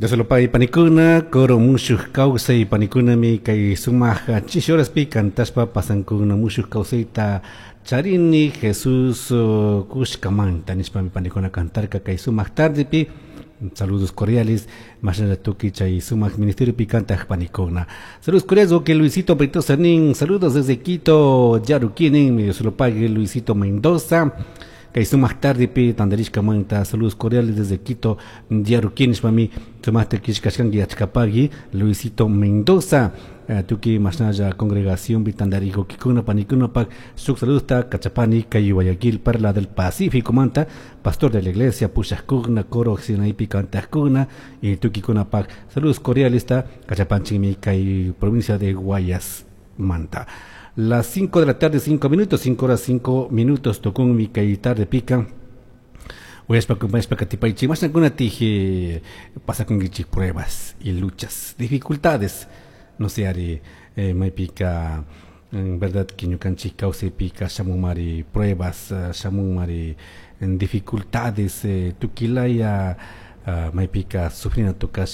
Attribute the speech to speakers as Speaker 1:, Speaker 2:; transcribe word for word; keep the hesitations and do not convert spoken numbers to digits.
Speaker 1: Dios panikuna, coro mushuj kawsay panikunami kay sumaq chishi horaspi kantashpa pasankuna mushuj kawsayta charini Jesús uh, kushkamanta nishpami panikuna kantarka kay sumaq tardepi. Saludos cordiales, mashnalla tukuy chay sumaq ministerio kantaq panikuna. Saludos cordiales, que Luisito Brito Sanín, saludos desde Quito, Yaruquinin, Dios lo pague Luisito Mendoza. Kay sumaq tardepi tandarishkamanta, saludos cordiales desde Quito, Yaruquín, nishpami sumaqta killkashkanki achkapagui Luisito Mendoza. Eh, tukuy mashnalla congregación tandarikukikuna panikunapak shuk saludosta kachapani kay Guayaquil, Perla del Pacífico manta, pastor de la iglesia, pushaqkuna, coro sinaipi kantaqkuna y tukikunapak saludos cordiales ta kachapanchikmi kay provincia de Guayas manta. Las cinco de la tarde, cinco minutos, cinco horas cinco minutos, tukunmi kay tarde pika. Uyashpa kumpashpa katipaychik mashnakuna tije pasakunkichik pruebas y luchas, dificultades, no sé, ari eh, maypika en verdad que ñukanchik kawsaypika shamunmari pruebas, uh, shamunmari dificultades, eh, tukilaya uh, maypika sufrina tukashka.